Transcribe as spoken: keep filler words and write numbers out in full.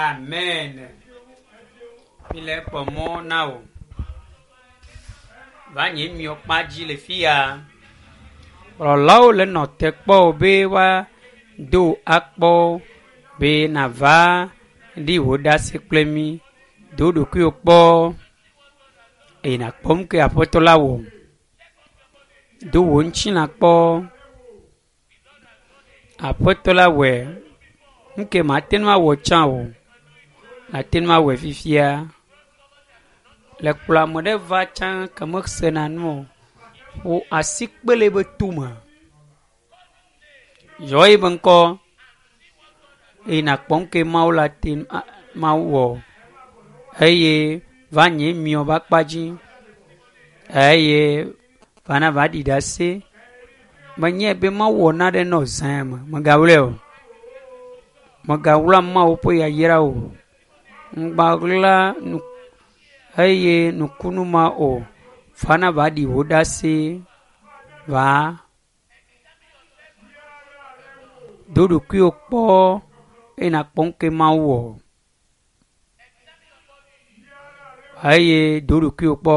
Amen. Mi le kpɔ mɔ na wò. Va nye miɔ kpa dzi le fi ya. Kplɔlawo le nɔ te kpɔ wò be woado akpɔ be nava ɖi wò ɖase kple mí. Do ɖokuiwò kpɔ eye nàkpɔ nu ke aƒetɔ la wɔ. Do wò ŋutilã kpɔ. Aƒetɔ la wɔe. Nu ke mate ŋu awɔ tsã o, nàte ŋu awɔe fifia. Le kplɔ ame ɖe va tsã ke mesena nu o. Ƒo asikpe le eƒe tome. Yɔ eƒe ŋkɔ eye nàkpɔ nu ke Mawu la te Mawu wɔ eye va nye miɔ ƒe akpa dzi eye va na va ɖi ɖase. Menye be Mawu wɔ naɖe nɔ zã me. Megawlɔe o. Megawlɔ Mawu ƒe yayra o. Ŋgbaɣla nu eye nukunu ma o. Va na va ɖi wò ɖase. Va. Do ɖokuiwò kpɔ eye nàkpɔ nu ke Mawu wɔ. Eye do ɖokuiwò kpɔ.